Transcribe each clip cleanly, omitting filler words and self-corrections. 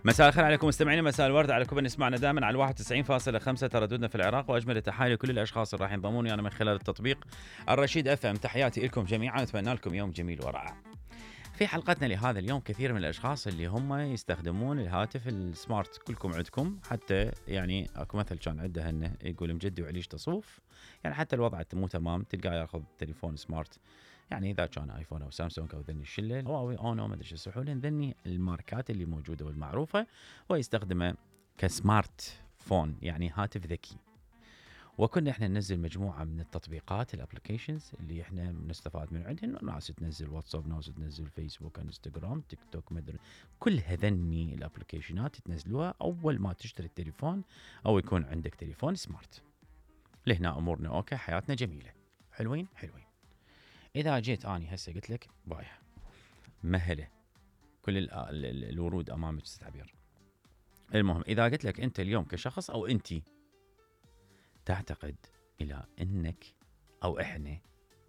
مساء الخير عليكم مستمعينا، مساء الورد عليكم اللي نسمعنا دائما على 91.5 ترددنا في العراق، واجمل التحايا لكل الاشخاص اللي راح ينضمون انا من خلال التطبيق الرشيد اف ام. تحياتي لكم جميعا، اتمنى لكم يوم جميل ورائع. في حلقتنا لهذا اليوم كثير من الاشخاص اللي هم يستخدمون الهاتف السمارت، كلكم عندكم، حتى يعني اكو مثل كان عنده هنه يقول مجدي وعليش تصوف، يعني حتى الوضع مو تمام تلقاه ياخذ تليفون سمارت، يعني اذا كان ايفون او سامسونج او ذني الشله هواوي اونو ما ادري شو يصيحون ذني الماركات اللي موجوده والمعروفه، ويستخدمه كسمارت فون، يعني هاتف ذكي. وكنا احنا ننزل مجموعه من التطبيقات الابلكيشنز اللي احنا نستفاد من عندهم، ناس تنزل واتساب، ناس تنزل فيسبوك، انستغرام، تيك توك، مدري كل هذني الابلكيشنات تنزلوها اول ما تشتري التليفون او يكون عندك تليفون سمارت. لهنا امورنا اوكي، حياتنا جميله، حلوين. اذا جيت اني هسه قلت لك بايع مهله كل الورود امامك تعبير. المهم اذا قلت لك انت اليوم كشخص او انتي تعتقد الى انك او احنا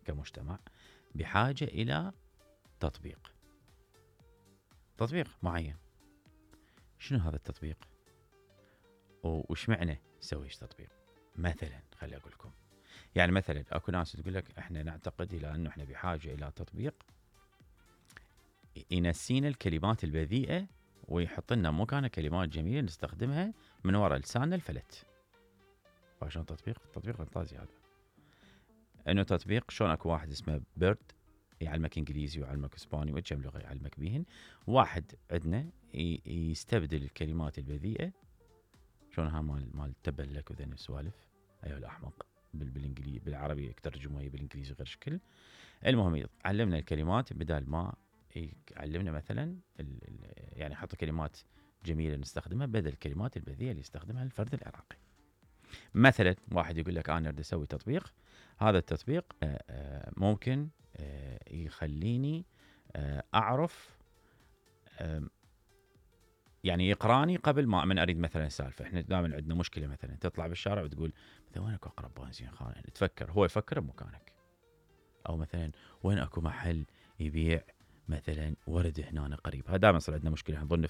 كمجتمع بحاجه الى تطبيق معين، شنو هذا التطبيق وش معنى نسوي تطبيق؟ مثلا خلي اقول لكم، يعني مثلا اكو ناس تقول لك احنا نعتقد الى انه احنا بحاجه الى تطبيق ينسينا الكلمات البذيئه ويحط لنا مكانها كلمات جميله نستخدمها من وراء لساننا الفلت. فشلون تطبيق فانتازي هذا، انه تطبيق شلون اكو واحد اسمه بيرد يعلمك انجليزي ويعلمك اسباني وكم لغه يعلمك بيهن، واحد عندنا يستبدل الكلمات البذيئه شلون ها مال تبلك وذن السوالف، ايوه الاحمق بالانجليزي بالعربي ترجموها بالانجليزي غير شكل. المهم علمنا الكلمات بدال ما يعلمنا مثلا يعني حط كلمات جميله نستخدمها بدل الكلمات البذيئه اللي يستخدمها الفرد العراقي. مثلا واحد يقول لك انا اريد اسوي تطبيق، هذا التطبيق ممكن يخليني اعرف، يعني يقراني قبل ما من اريد مثلا سالفه. احنا دائما عندنا مشكله، مثلا تطلع بالشارع وتقول مثلا وين اكو اقرب بنزين خانه، تفكر هو يفكر بمكانك، او مثلا وين اكو محل يبيع مثلا ورد هنا قريب. هذا دائما صار عندنا مشكله، نظن